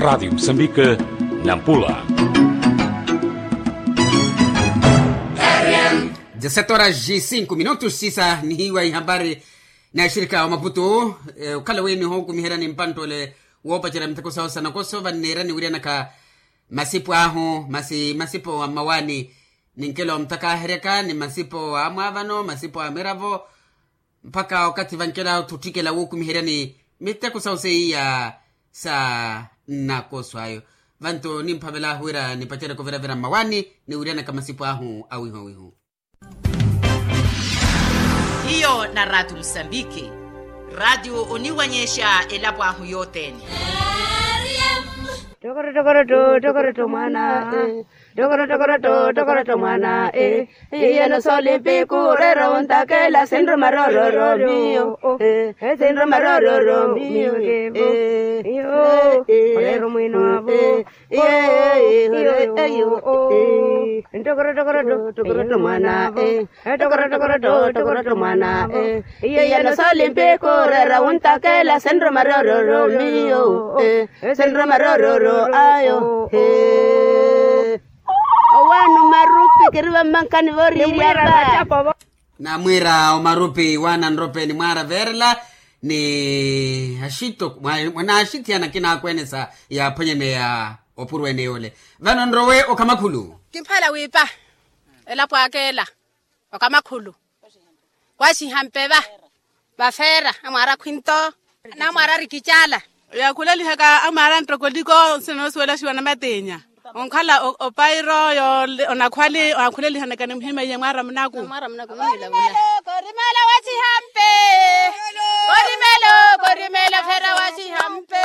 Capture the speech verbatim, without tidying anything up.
Radiyo musambike, nampula. Dezessete horas e cinco minutos sisa nihiwa ihambari na axirika wa maputu. Okhala wi nihokumiheryani mpanttole woopacerya miteko sahu sa nakoso vanniirani wiryana ka masipu ahu masi masipu a mmawaani. Ninkela omutakaheryaka ni masipu a mwaavano masipu a miravo mpakha okathi vankela othutthikela wuukumiheryani miteko sahu seiya sa nnakoso ayo. Vanto nimphavelaahu wira nipacereke oviravira mmawaani ni wiryanaka masipu ahu awihu awihu. Hiyo na ratu musambiki. Ratu oniwanyexa elapo ahu yothene. Tokoroto tokoroto tokoroto mwana. Tokoroto tokoroto tokoroto mwana. Iyeno solimpiku rero untakela sinruma rororo miyo. Sinruma rororo miyo. Rero mwino avo. Tokoroto tokoroto tokoroto mwana. Tokoroto tokoroto tokoroto mwana. Iyeno solimpiku rero untakela sinruma rororo miyo. Sinruma rororo ayo. Owanu marupi kiriva mmankani voriryapa. Namwiira omarupi wana nrope ni mwaara veerela ni axitto mwanaaxitthiyana kinaakwenesa yaaphwanyaneya opurweene yoole. Vano nrowe okamakhulu. Kimphala wiipa elapo akela okamakhulu. Waxiha mpeva vafeera amwaara khwinto. Namwaara rikicala. Yaakhulelihaka amwaara nttokoliko nsina nosuwelaxiwa namateenya onkhala opairo yoole onakhwali onakhulelihanaka ni muhimeiye mwaara munaku. Korimelo korimelo waxiha mpe. Korimelo korimelo feera waxiha mpe.